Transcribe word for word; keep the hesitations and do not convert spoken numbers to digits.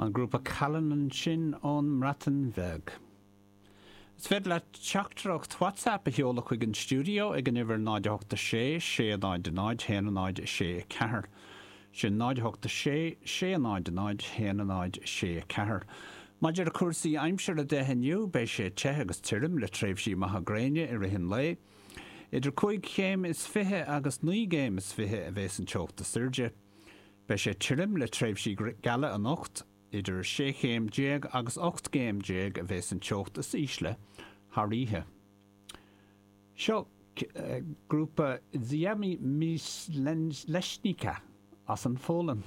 An grúpa Calan ansin ón mBreatain Bheag. Is féidir leat teachtaireacht WhatsApp a sheoladh chuig an stiúideo ag an uimhir náid a hocht a sé sé náid a náid haon a náid sé a ceathair. Sin náid a hocht a sé sé náid a náid haon a náid sé a ceathair. Maidir le cúrsaí aimsire de inniu beidh sé te agus tirim le tréimhsí maithe gréine i rith an lae. Idir cúig chéim is fiche agus naoi gcéim is fiche a bheas an teocht is airde. Beidh sé tirim le tréimhsí geala anocht, idir sé chéim déag agus ocht gcéim déag a bheas an teocht is ísle thar oíche. Seo grúpa Ziemi Myśleniczka as an Pholainn.